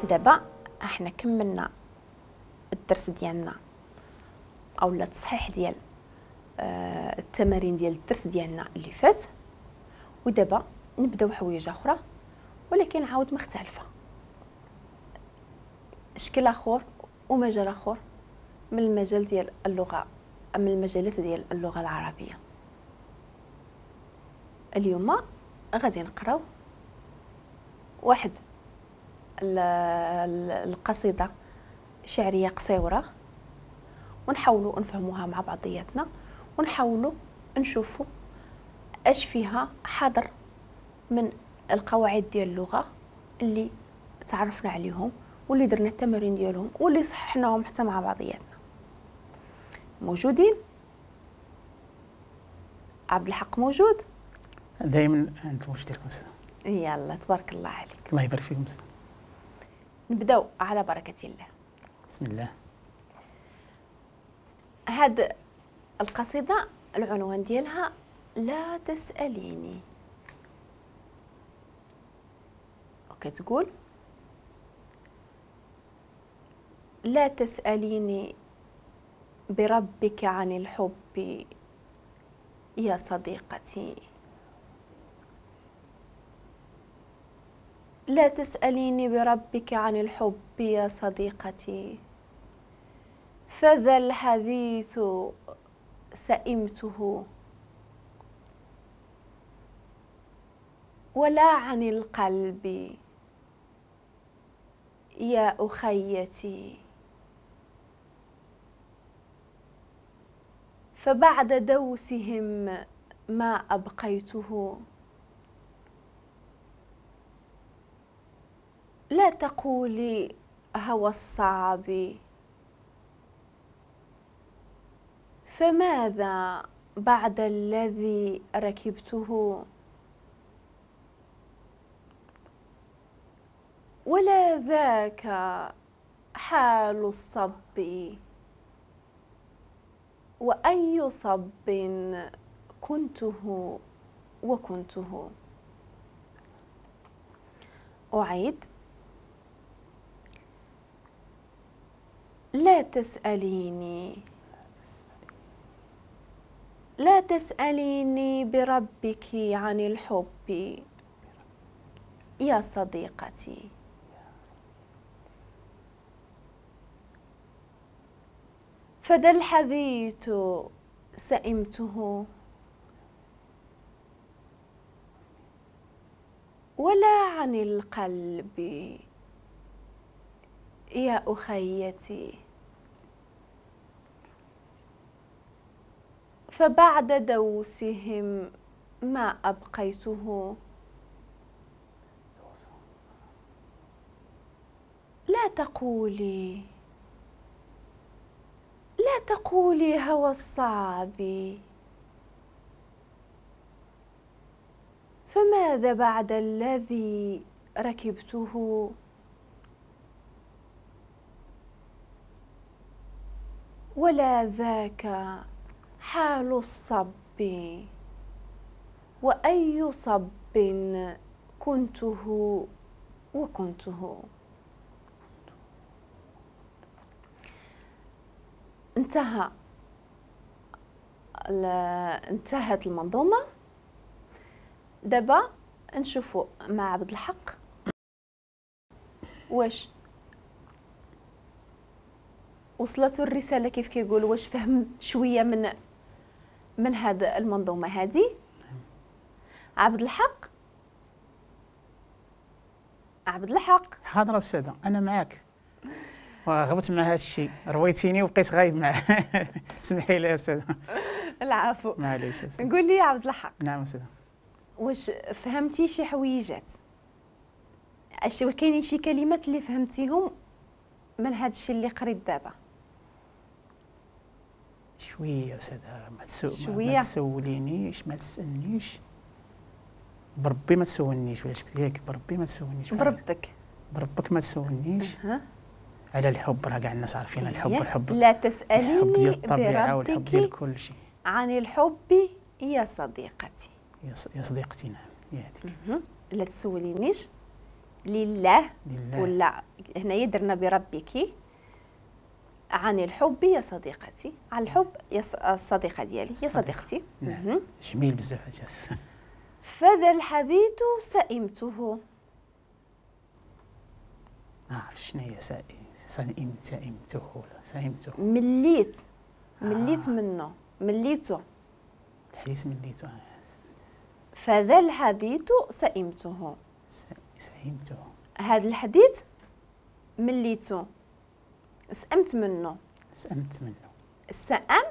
دابا احنا كملنا الدرس ديالنا او التصحيح ديال التمارين ديال الدرس ديالنا اللي فات، ودابا نبداو حوايج اخرى ولكن عاود مختلفة، شكل اخر ومجال اخر من المجال ديال اللغة، من المجالات ديال اللغة العربية. اليوم غادي نقراو واحد القصيدة شعرية قصيرة ونحاولوا نفهموها مع بعضياتنا، ونحاولوا نشوفوا اش فيها حاضر من القواعد ديال اللغة اللي تعرفنا عليهم واللي درنا التمارين ديالهم واللي صححناهم حتى مع بعضياتنا. موجودين؟ عبد الحق موجود؟ دائما عند الموجود ديالكم أستاذ. يلا تبارك الله عليك. الله يبارك فيكم أستاذ. نبداو على بركة الله. بسم الله. هاد القصيدة العنوان ديالها لا تسأليني، وكتقول: لا تسأليني بربك عن الحب يا صديقتي، لا تسأليني بربك عن الحب يا صديقتي، فذا الحديث سئمته، ولا عن القلب يا أخيتي، فبعد دوسهم ما أبقيته. لا تقولي هوى الصعب، فماذا بعد الذي ركبته، ولا ذاك حال الصب، وأي صب كنته وكنته. أعيد: لا تسأليني، لا تسأليني بربك عن الحب يا صديقتي، فذا الحديث سئمته، ولا عن القلب يا أخيتي، فبعد دوسهم ما أبقيته. لا تقولي، لا تقولي هوى الصعب، فماذا بعد الذي ركبته، ولا ذاك حال الصب، وأي صب كنته وكنته. انتهت المنظومة. دابا نشوفوا مع عبد الحق واش وصلته الرسالة كيف كيقول، واش فهم شوية من هذا المنظومة هذه. عبد الحق، عبد الحق. حاضر أستاذة، أنا معاك وغبت مع هذا الشيء، رويتيني وبقيت غايب معاه. سمحي لي يا أستاذة. العفو. معليش أستاذة. قول لي يا عبد الحق. نعم أستاذة. واش فهمتي شي حويجات؟ اش كاينين شي كلمات اللي فهمتيهم من هذا الشيء اللي قريت دابا؟ شوية أستاذة، ما تسولينيش، ما تسالنيش بربي، ما تسولنيش ولا شكل ياك، بربي ما تسولنيش. بربك، بربك ما تسولنيش. على الحب راه كاع الناس عارفين الحب. الحب لا تسأليني الحب ديال الطبيعة والحب ديال كل شيء. عن الحب يا صديقتي. يا صديقتي، نعم، يا هذيك. لا تسولينيش، لله، لله. ولا هنايا درنا بربك عن الحب يا صديقتي، عن الحب يا الصديقة ديالي، يا صديقتي. نعم. جميل بزاف هادشي. فذا الحديث سئمته. عرفت شنو هي سئمته ولا سئمته؟ مليت، مليت منه، مليته. الحديث مليته. فذا الحديث سئمته. سئمته. هذا الحديث مليته، سأمت منه. سأمت منه. السأم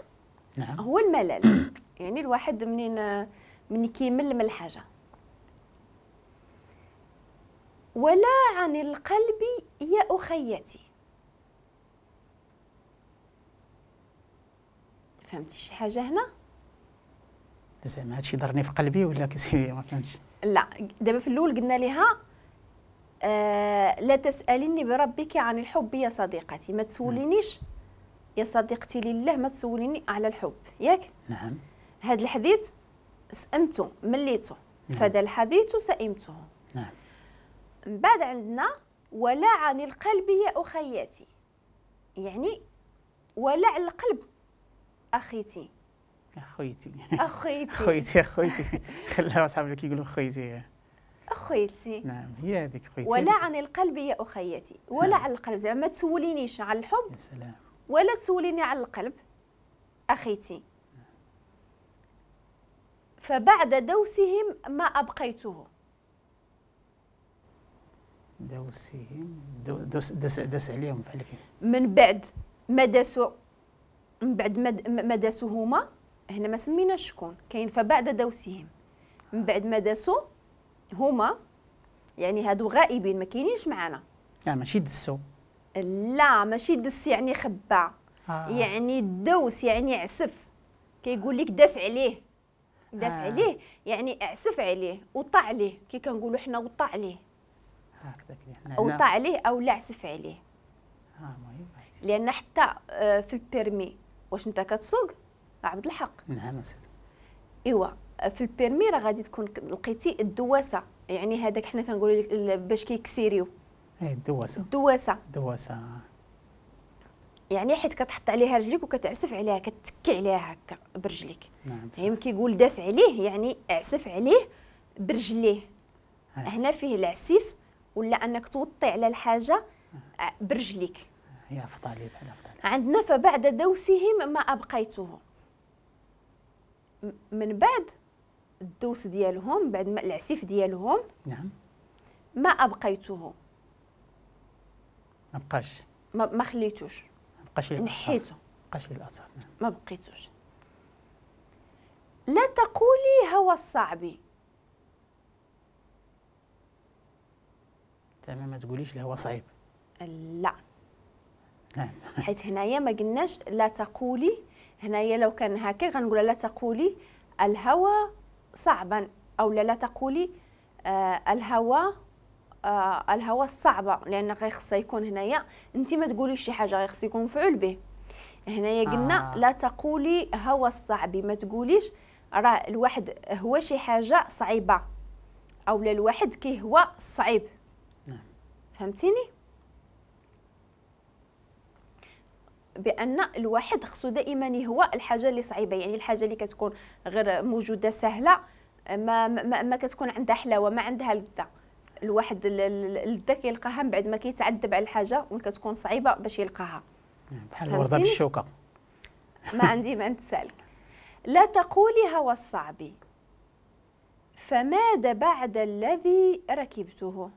نعم هو الملل. يعني الواحد منين كيمل من الحاجة. ولا عن القلب يا أخيتي. فهمتي شي حاجة هنا؟ زعما هادشي ضرني في قلبي ولا كسي ما فهمتش. لا دابا في الأول قلنا لها لا تسأليني بربك عن الحب يا صديقتي، ما تسولينيش يا صديقتي لله، ما تسوليني على الحب، ياك؟ نعم. هذا الحديث سأمته، مليته. نعم. فذا الحديث سئمته. نعم. من بعد عندنا ولا عن القلب يا أخيتي، يعني ولا على القلب أخيتي. أخيتي أخيتي أخيتي أخيتي خلاها أصحابي اللي كيقولوا أخيتي. أخيتي. نعم هي هذيك أخيتي. ولا عن القلب يا أخيتي، ولا نعم. على القلب، زعما ما تسولينيش على الحب. يا سلام. ولا تسوليني على القلب أخيتي. نعم. فبعد دوسهم ما أبقيته. دوسهم، دوس دس دس عليهم بحال هكا. من بعد ما داسوا، من بعد ما داسوا هما، هنا ما سميناش شكون كاين. فبعد دوسهم، من بعد ما داسوا هما، يعني هادو غائبين ما كاينينش معانا. لا ماشي دسو. لا ماشي دس يعني خبا. يعني الدوس يعني عسف. كيقول لك داس عليه، داس عليه يعني اعسف عليه، وطع عليه، كي كنقولوا حنا وطع عليه. هكذا وطع عليه او لا عسف عليه. مهم. لان حتى في ال permis واش انت كتسوق عبد الحق؟ نعم أستاذ. ايوا في ال permis راه غادي تكون لقيتي الدواسه، يعني هذاك حنا كنقولوا لك باش كيكسيريو. اي الدواسه. الدواسه. الدواسه يعني حيت كتحط عليها رجليك وكتعسف عليها، كتكي عليها هكا برجليك. نعم. يعني كيقول داس عليه يعني اعسف عليه برجليه. هنا فيه العسيف ولا انك توطي على الحاجة برجليك. هي افضل بحال افضل. عندنا فبعد دوسهم ما ابقيته. من بعد الدوس ديالهم، بعد ما العسيف ديالهم. نعم. ما ابقيته. ما بقاش. ما خليتوش. ما بقاش. نحيته. ما بقاش الاثر. نعم. ما بقيتوش. لا تقولي هوى الصعب. تمام، ما تقوليش الهوى صعيب. لا. نعم. حيت هنايا ما قلناش لا تقولي، هنايا لو كان هكا غنقول لا تقولي الهوى صعبا، او لا تقولي الهوى الهوى الصعبة، لان غير خصها يكون هنايا انت ما تقوليش شي حاجة، غير خص يكون مفعول به. هنايا قلنا لا تقولي هوى الصعب، ما تقوليش راه الواحد هو شي حاجة صعيبة، او لا الواحد كيهوى الصعيب. نعم. فهمتيني؟ بان الواحد خصو دائما يهوى الحاجة اللي صعيبة، يعني الحاجة اللي كتكون غير موجودة سهلة ما ما, ما كتكون عندها حلاوة، ما عندها لذة. الواحد اللذة كيلقاها من بعد ما كيتعذب على الحاجة وكتكون صعيبة باش يلقاها. بحال الورده بالشوكة. ما عندي ما نتسالك. لا تقولي هوى الصعب فماذا بعد الذي ركبته.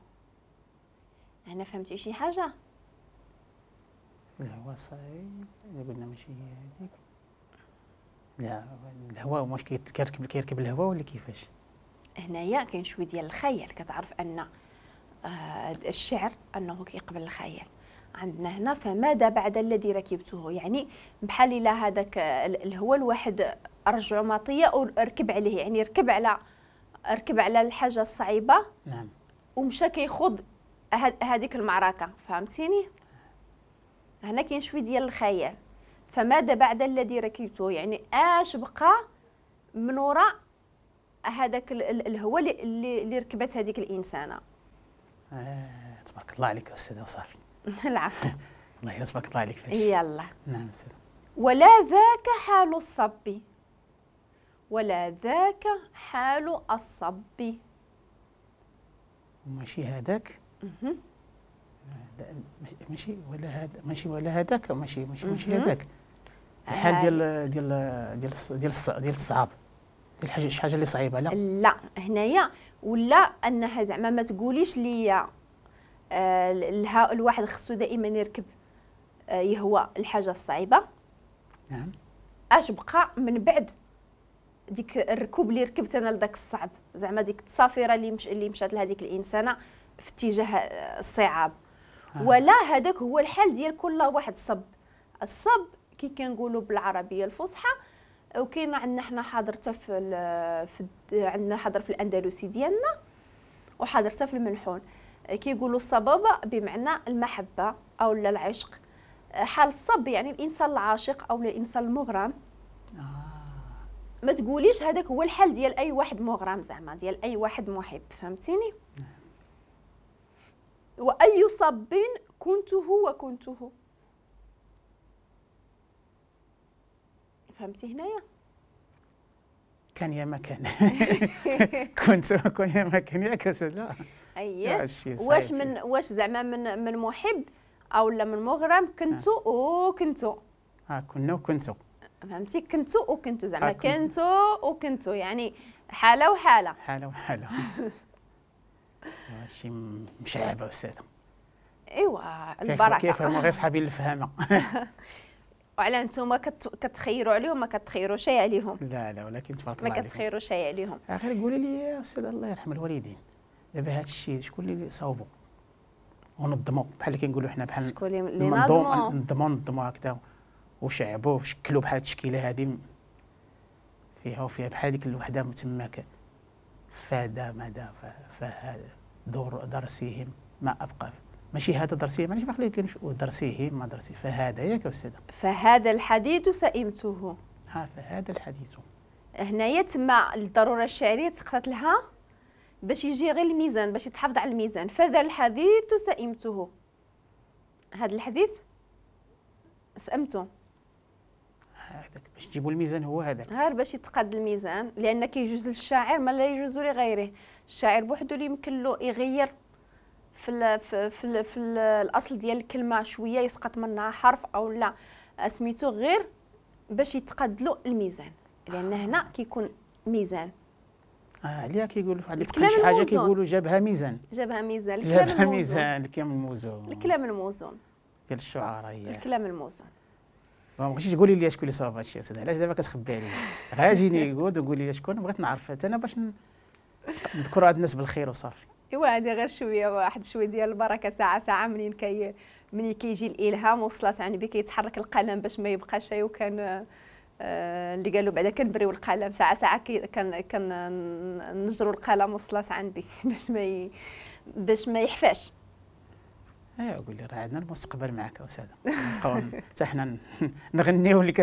هنا فهمتي شي حاجة؟ الهواء صعيب اللي قلنا ماشي هي هذيك. لا الهواء واش كيركب الهواء ولا كيفاش؟ هنايا كاين شوية ديال الخيال، كتعرف ان الشعر انه كيقبل الخيال. عندنا هنا فماذا بعد الذي ركبته، يعني بحال الا هذاك الهواء الواحد رجعو مطية وركب عليه، يعني ركب على الحاجة الصعيبه. نعم. ومشى كيخوض هذيك المعركة، فهمتيني؟ هنا كاين شوية ديال الخيال. فماذا بعد الذي ركبته، يعني اش بقى من وراء هذاك الهواء اللي ركبت هذيك الانسانة. تبارك الله عليك أستاذة وصافي. العفو. الله يلا تبارك الله عليك فاش. يلا. نعم أستاذة. ولا ذاك حال الصب، ولا ذاك حال الصب. ماشي هذاك، ماشي ولا هذا، ماشي ولا هذاك، ماشي ماشي ماشي هذاك الحال ديال ديال ديال ديال ديال الصعاب، ديال الحاجة، شي حاجة اللي صعيبة. لا لا هنايا ولا انها زعما ما تقوليش ليا الواحد خصو دائما يركب يهوى الحاجة الصعيبه. نعم. اش بقى من بعد ديك الركوب اللي ركبت انا لذاك الصعب، زعما ديك التصافيره اللي مشات لهذيك الانسانة في اتجاه الصعاب. ولا هذاك هو الحال ديال كل واحد. صب الصب كي كنقولوا بالعربية الفصحى، وكاين عندنا حنا حاضر في عندنا حاضر في الاندلسي ديالنا وحاضر حتى في المنحون، كيقولوا الصبابة بمعنى المحبة او العشق. حال الصب يعني الانسان العاشق او الانسان المغرم. ما تقوليش هذاك هو الحال ديال اي واحد مغرم، زعما ديال اي واحد محب، فهمتيني؟ واي صب كنته وكنته. فهمتي هنايا؟ كان يا ما كان. كنت كان يا ما كان، ياك لا. اييه. واش من واش زعما من محب او لا من مغرم كنتو وكنتو. كنا وكنتو. فهمتي؟ كنتو وكنتو زعما كنتو وكنتو، يعني حاله وحاله. حاله وحاله. هادشي مشعبه استاذه. ايوا البركة. كيف هما غير صحابي الفهامه. وعلى انتم كتخيروا عليهم، ما كتخيروا شيء عليهم. لا لا ولكن تبارك الله ما كتخيروا شيء عليهم. غير قولي لي يا استاذ الله يرحم الوالدين، دابا هذا الشيء شكون اللي صاوبوا ونظموا بحال اللي كنقولوا حنا، بحال شكون اللي نظموا نظموا هكذا وشعبوه وشكلوا بحال التشكيلة هذه فيها وفيها بحال ديك الوحدة تماك فهذا ماذا فهذا دور درسهم ما ابقى، ماشي هذا درسهم، ماشي باقي كاين درسهم ما درسي، فهذا ياك استاذه. فهذا الحديث سئمته. ها فهذا الحديث هنايا تما الضرورة الشعرية تسقطت لها باش يجي غير الميزان، باش يتحافظ على الميزان. فذا الحديث سئمته، هذا الحديث سئمته، هذاك باش تجيبوا الميزان هو هذاك، غير باش يتقاد الميزان، لان كيجوز للشاعر ما لا يجوز لغيره. الشاعر بوحدو اللي يمكن له يغير في ال في في, ال في ال الاصل ديال الكلمة شوية، يسقط منها حرف او لا سميتو، غير باش يتقاد له الميزان، لان هنا كيكون ميزان. عليها كيقولوا على شي حاجة كيقولوا جابها ميزان، جابها ميزان، جابها ميزان، الكلام الموزون، الكلام الموزون ديال الشعراء، الكلام الموزون. ما بغيتيش تقولي لي شكون اللي صاوب هادشي استاذ، علاش دابا كتخبي عليا؟ غير جيني قول وقولي لي شكون، بغيت نعرف حتى انا باش نذكر هاد الناس بالخير وصافي. ايوا هادي غير شوية، واحد شوية ديال البركة، ساعة ساعة منين كيجي الالهام وصلت عن بي كيتحرك القلم باش ما يبقاش. وكان اللي قالوا بعدا كنبريو القلم ساعة ساعة، كان نجروا القلم وصلت عن بي باش ما يحفاش. ايوا قول لي راه عندنا المستقبل معك استاذه، نبقاو حتى حنا نغنيو اللي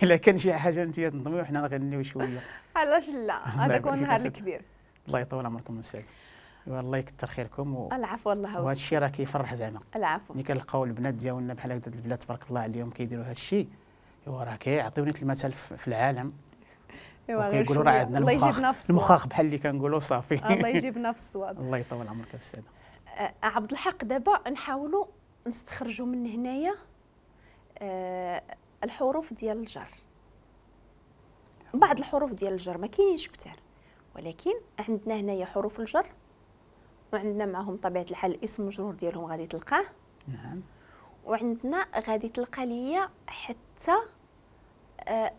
الا كان شي حاجة انت تنظمي وحنا نغنيو شوية. علاش لا، هذاك هو النهار الكبير. الله يطول عمركم استاذ، والله يكثر خيركم العفو والله. وهذا الشيء راه كيفرح زعما. العفو. ملي كنلقاو البنات ديالنا بحال هكذا، البنات تبارك الله عليهم كيديروا هذا الشيء، ايوا راه كيعطيونا المثل في العالم. ايوا كيقولوا راه عندنا المخاخ، المخاخ بحال اللي كنقولوا صافي. الله يجيبنا في الصواب. الله يطول عمرك استاذه. عبد الحق، دابا نحاولوا نستخرجوا من هنايا الحروف ديال الجر. بعض الحروف ديال الجر ما كاينينش كثار، ولكن عندنا هنايا حروف الجر، وعندنا معهم طبيعة الحال الاسم المجرور ديالهم غادي تلقاه. نعم. وعندنا غادي تلقى ليا حتى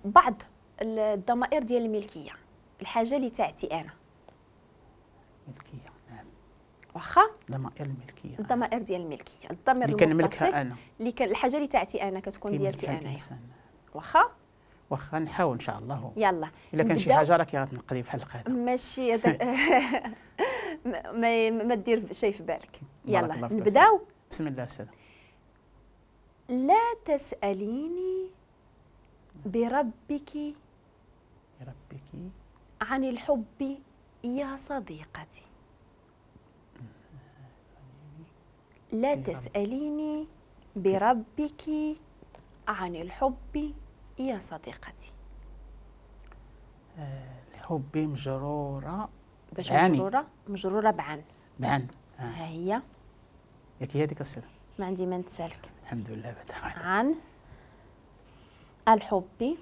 بعض الضمائر ديال الملكية، الحاجة اللي تاعتي انا. ملكية، نعم. واخا ضمائر الملكية، الضمائر ديال الملكية، الضمير اللي كنملكها انا، اللي كان الحاجة اللي تاعتي انا كتكون ديالتي انا. واخا واخا نحاول ان شاء الله. يلا الا كان شي حاجة راكي غتنقدي في الحلقة هذا ماشي ما دير شيء في بالك. يلا نبداو. بسم الله استاذ. لا تسأليني بربك بربك عن الحب يا صديقتي. لا تسأليني بربك عن الحب يا صديقتي. الحب مجرورة. باش مجرورة؟ مجرورة بعن. بعن. ها هي. ياك هي هذيك أستاذة؟ ما عندي ما نتسالك. الحمد لله بعد. عن الحب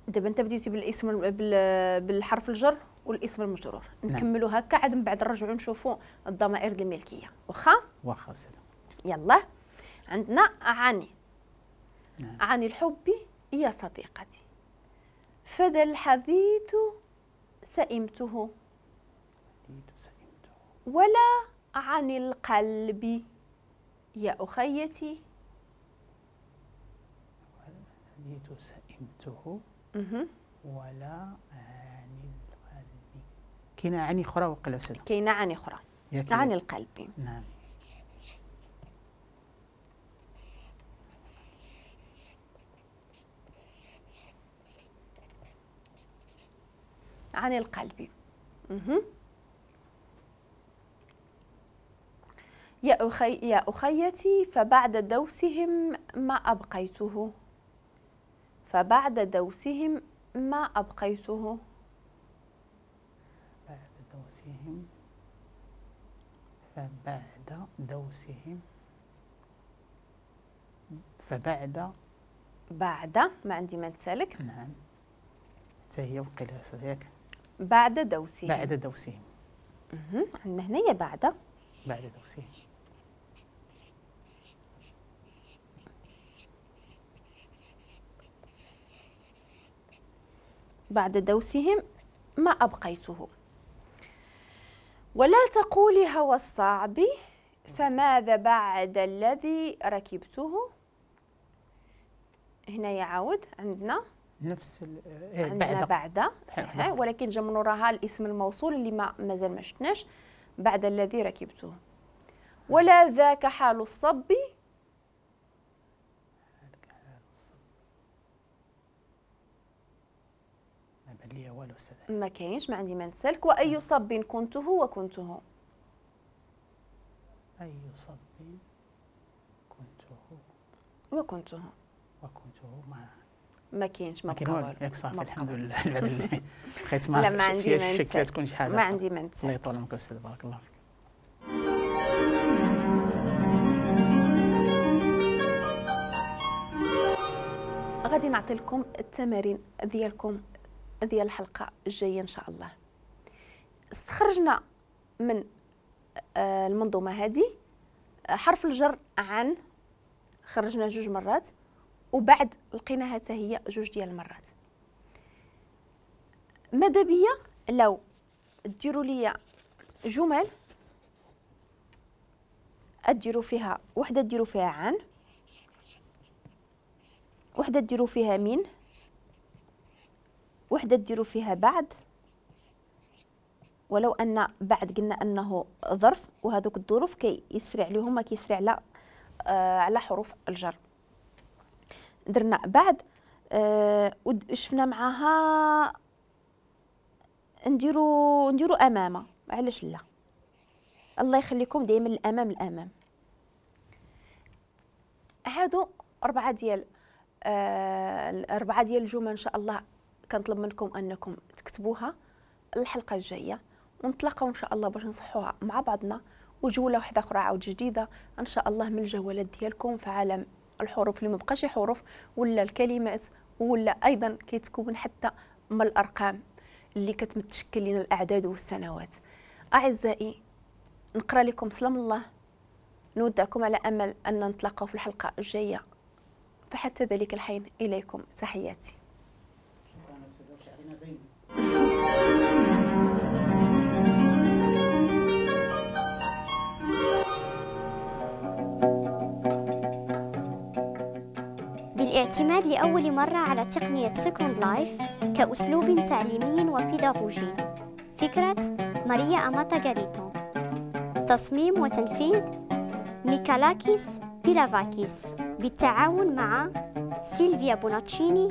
دابا انت بديتي بالاسم بالحرف الجر والاسم المجرور. نكملوا هكا عاد من بعد نرجعوا نشوفوا الضمائر الملكية. واخا؟ واخا أستاذة. يلا عندنا عن. نعم. عن الحب يا صديقتي فذا الحديث سئمته ولا عن القلب يا أخيتي. الحديث سئمته ولا عن القلب. كاينه عن اخرى وقيلا أستاذة؟ كاينه عن اخرى، عن القلب. نعم. عن القلب. يا أخيتي فبعد دوسهم ما أبقيته. فبعد دوسهم ما أبقيته. بعد دوسهم، فبعد دوسهم، فبعد بعد ما عندي ما نتسالك. نعم حتى هي وقيلا أستاذ ياك؟ بعد دوسهم. بعد دوسهم. عندنا هنايا بعد. بعد دوسهم. بعد دوسهم ما أبقيته. ولا تقولي هوى الصعب فماذا بعد الذي ركبته. هنا يعاود عندنا نفس عندنا بعد، ولكن جا من وراها الاسم الموصول اللي مازال ما شفناش. بعد الذي ركبته. ولا ذاك حال الصب. ما كاينش، ما عندي ما نتسالك. واي صب كنته وكنته. اي صب كنته وكنته. وكنته ما كاينش، ما بقى والو. ياك صافي الحمد لله. بقيت ما عندي ما نتسالك. تكون شي حاجة ما عندي ما نتسالك. الله يطول عمرك استاذ، بارك الله فيك. غادي نعطي لكم التمارين ديالكم ديال الحلقة الجاية ان شاء الله. استخرجنا من المنظومة هذه حرف الجر عن، خرجنا جوج مرات، وبعد لقيناها حتى هي جوج ديال المرات. ماذا بيا لو ديروا لي جمل اديروا فيها وحده ديروا فيها عن، وحده ديروا فيها من، وحده ديروا فيها بعد، ولو ان بعد قلنا انه ظرف وهذوك الظروف كيسري عليهم ما كيسري على على حروف الجر. درنا بعد وشفنا معاها نديرو امامه، علاش لا؟ الله يخليكم دائما الامام الامام. هادو اربعة ديال الجمل ان شاء الله كنطلب منكم انكم تكتبوها الحلقة الجاية، ونتلاقاو ان شاء الله باش نصحوها مع بعضنا، وجوله واحدة اخرى عاود جديدة ان شاء الله من الجولات ديالكم في عالم الحروف اللي ما بقاش حروف ولا الكلمات، ولا ايضا كيتكون حتى من الارقام اللي كتمتشكل لنا الاعداد والسنوات. اعزائي نقرا لكم سلام الله، نودعكم على امل ان نتلاقاو في الحلقة الجاية، فحتى ذلك الحين اليكم تحياتي. بالاعتماد لأول مرة على تقنية Second Life كأسلوب تعليمي وبيداغوجي. فكرة ماريا أماتا غاريتو. تصميم وتنفيذ ميكالاكيس بيلافاكيس بالتعاون مع سيلفيا بوناتشيني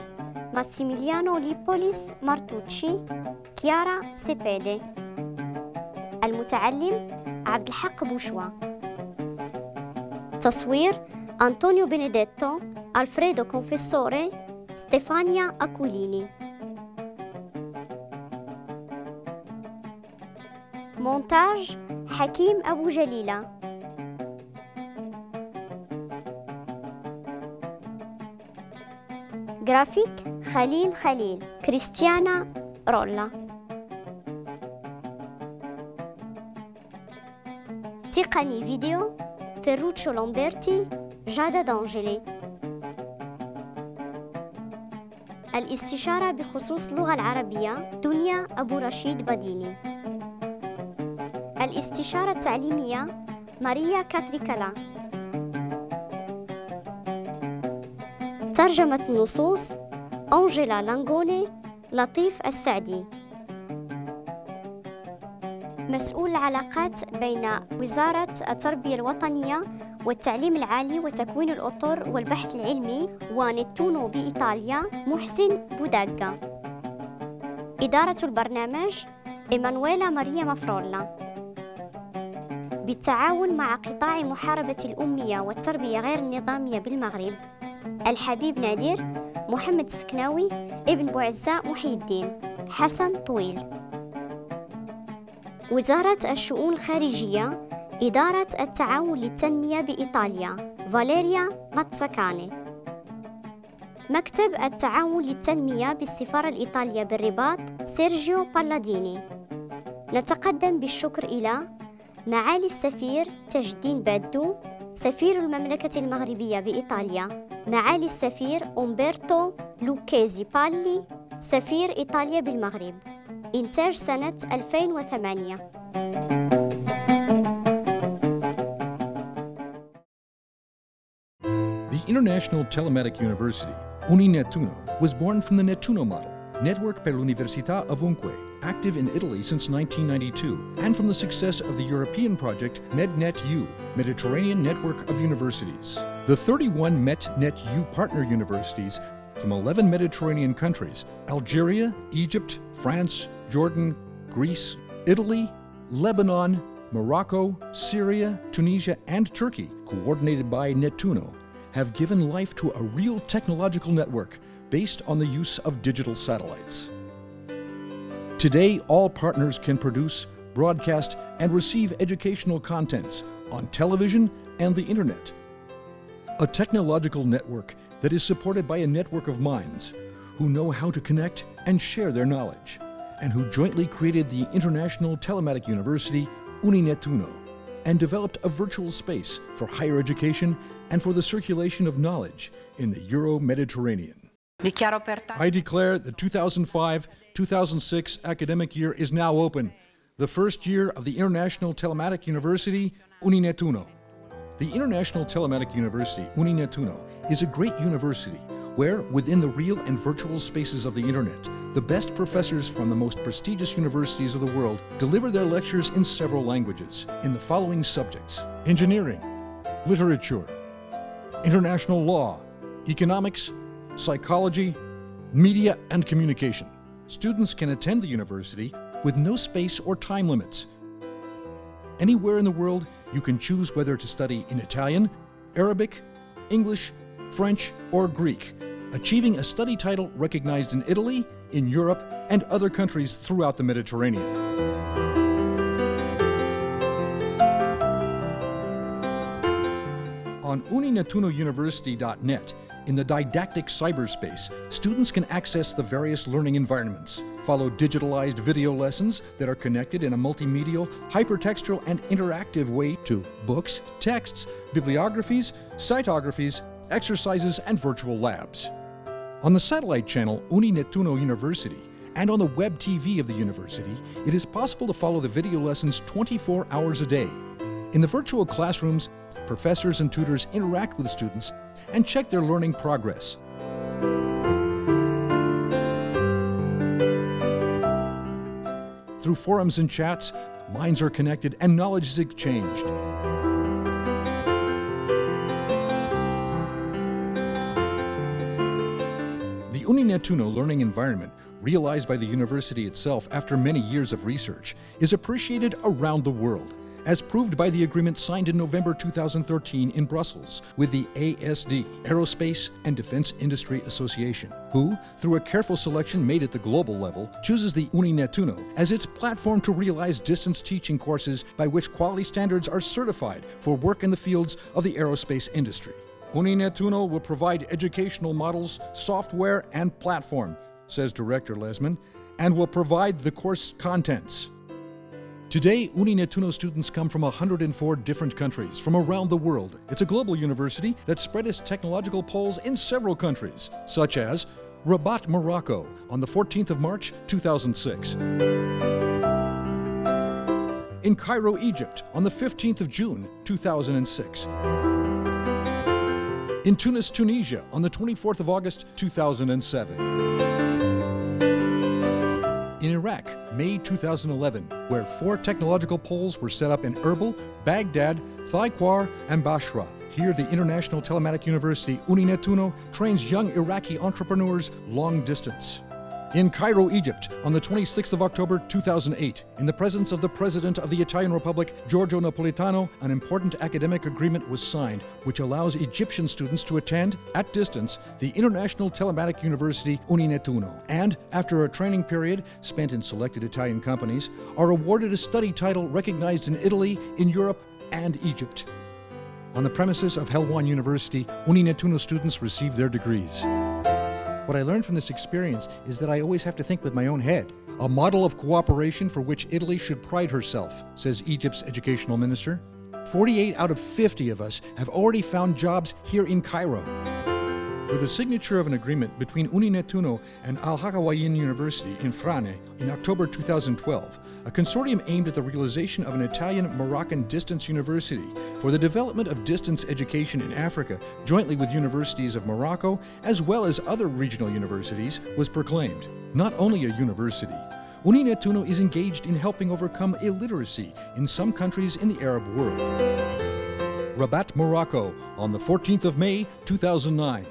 ماسيميليانو ليبوليس مارتوتشي، كيارا سيبيدي. المتعلم عبد الحق بوشوا. تصوير أنطونيو بينيديتو، ألفريدو كونفيسوري، ستيفانيا أكوليني. مونتاج حكيم أبو جليلة. جرافيك خليل خليل، كريستيانا رولا. تقني فيديو فيروتشو لامبرتي، جادا دانجلي. الاستشارة بخصوص اللغة العربية دنيا أبو رشيد بديني. الاستشارة التعليمية ماريا كاتريكالا. ترجمة النصوص أنجيلا لانغوني، لطيف السعدي. مسؤول العلاقات بين وزارة التربية الوطنية والتعليم العالي وتكوين الأطر والبحث العلمي ونتونو بإيطاليا محسن بوداغا. إدارة البرنامج إيمانويلا ماريا مافرولا. بالتعاون مع قطاع محاربة الأمية والتربية غير النظامية بالمغرب، الحبيب نادر، محمد السكناوي، ابن بوعزة محي الدين، حسن طويل. وزارة الشؤون الخارجية، إدارة التعاون للتنمية بإيطاليا، فاليريا ماتساكاني. مكتب التعاون للتنمية بالسفارة الإيطالية بالرباط، سيرجيو بالاديني. نتقدم بالشكر إلى معالي السفير تاج الدين بادو، سفير المملكة المغربية بإيطاليا، معالي السفير أومبرتو لوكيزي بالي، سفير إيطاليا بالمغرب. إنتاج سنة 2008. The International Telematic University, Uninettuno, was born from the Nettuno model, Network per l'Università Ovunque, active in Italy since 1992, and from the success of the European project MedNetU, Mediterranean Network of Universities. The 31 MetNetU partner universities from 11 Mediterranean countries, Algeria, Egypt, France, Jordan, Greece, Italy, Lebanon, Morocco, Syria, Tunisia, and Turkey, coordinated by Nettuno, have given life to a real technological network based on the use of digital satellites. Today, all partners can produce, broadcast, and receive educational contents on television and the internet. A technological network that is supported by a network of minds who know how to connect and share their knowledge, and who jointly created the International Telematic University, Uninettuno, and developed a virtual space for higher education and for the circulation of knowledge in the Euro-Mediterranean. I declare the 2005-2006 academic year is now open, the first year of the International Telematic University, Uninettuno. The International Telematic University, Uninettuno, is a great university where, within the real and virtual spaces of the internet, the best professors from the most prestigious universities of the world deliver their lectures in several languages in the following subjects: engineering, literature, international law, economics, psychology, media and communication. Students can attend the university with no space or time limits. Anywhere in the world, you can choose whether to study in Italian, Arabic, English, French, or Greek, achieving a study title recognized in Italy, in Europe, and other countries throughout the Mediterranean. On uninettunouniversity.net, in the didactic cyberspace, students can access the various learning environments, follow digitalized video lessons that are connected in a multimedial, hypertextual, and interactive way to books, texts, bibliographies, cytographies, exercises, and virtual labs. On the satellite channel Uninettuno University and on the web TV of the university, it is possible to follow the video lessons 24 hours a day. In the virtual classrooms, professors and tutors interact with students and check their learning progress. Through forums and chats, minds are connected and knowledge is exchanged. The The UNINETTUNO learning environment, realized by the university itself after many years of research, is appreciated around the world, as proved by the agreement signed in November 2013 in Brussels with the ASD, Aerospace and Defense Industry Association, who, through a careful selection made at the global level, chooses the UNINETTUNO as its platform to realize distance teaching courses by which quality standards are certified for work in the fields of the aerospace industry. UNINETTUNO will provide educational models, software, and platform, says Director Lesman, and will provide the course contents. Today, UNINETTUNO students come from 104 different countries from around the world. It's a global university that spread its technological poles in several countries, such as Rabat, Morocco, on the 14th of March, 2006. In Cairo, Egypt, on the 15th of June, 2006. In Tunis, Tunisia, on the 24th of August, 2007. In Iraq, May 2011, where 4 technological poles were set up in Erbil, Baghdad, Thaikar, and Basra. Here, the International Telematic University UNINETTUNO trains young Iraqi entrepreneurs long distance. In Cairo, Egypt, on the 26th of October 2008, in the presence of the President of the Italian Republic, Giorgio Napolitano, an important academic agreement was signed, which allows Egyptian students to attend, at distance, the International Telematic University UNINETTUNO, and, after a training period spent in selected Italian companies, are awarded a study title recognized in Italy, in Europe, and Egypt. On the premises of Helwan University, UNINETTUNO students receive their degrees. What I learned from this experience is that I always have to think with my own head. A model of cooperation for which Italy should pride herself, says Egypt's educational minister. 48 out of 50 of us have already found jobs here in Cairo. With the signature of an agreement between UNINETTUNO and Al-Hakawayin University in Frane in October 2012, a consortium aimed at the realization of an Italian-Moroccan distance university for the development of distance education in Africa, jointly with universities of Morocco as well as other regional universities, was proclaimed. Not only a university, UNINETTUNO is engaged in helping overcome illiteracy in some countries in the Arab world. Rabat, Morocco, on the 14th of May, 2009.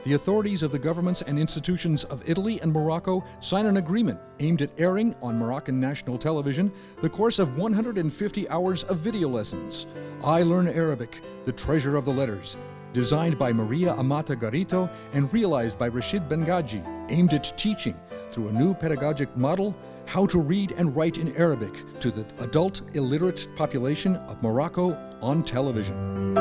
The authorities of the governments and institutions of Italy and Morocco sign an agreement aimed at airing on Moroccan national television the course of 150 hours of video lessons, I Learn Arabic, the Treasure of the Letters, designed by Maria Amata Garito and realized by Rashid Bengaji, aimed at teaching, through a new pedagogic model, how to read and write in Arabic to the adult illiterate population of Morocco on television.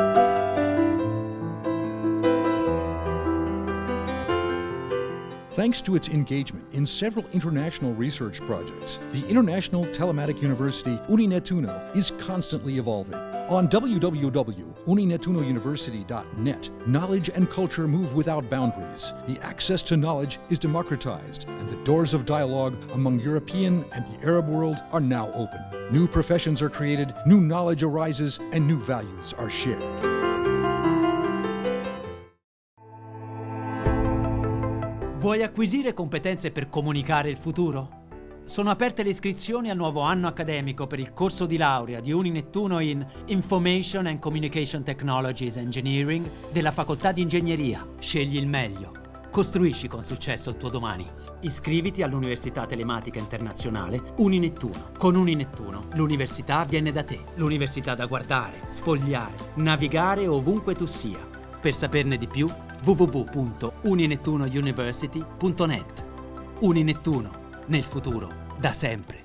Thanks to its engagement in several international research projects, the International Telematic University UNINETTUNO is constantly evolving. On www.uninettunouniversity.net, knowledge and culture move without boundaries. The access to knowledge is democratized, and the doors of dialogue among European and the Arab world are now open. New professions are created, new knowledge arises, and new values are shared. Vuoi acquisire competenze per comunicare il futuro? Sono aperte le iscrizioni al nuovo anno accademico per il corso di laurea di UNINETTUNO in Information and Communication Technologies Engineering della Facoltà di Ingegneria. Scegli il meglio. Costruisci con successo il tuo domani. Iscriviti all'Università Telematica Internazionale UNINETTUNO. Con UNINETTUNO l'università viene da te. L'università da guardare, sfogliare, navigare ovunque tu sia. Per saperne di più, www.uninettunouniversity.net. UNINETTUNO, nel futuro, da sempre.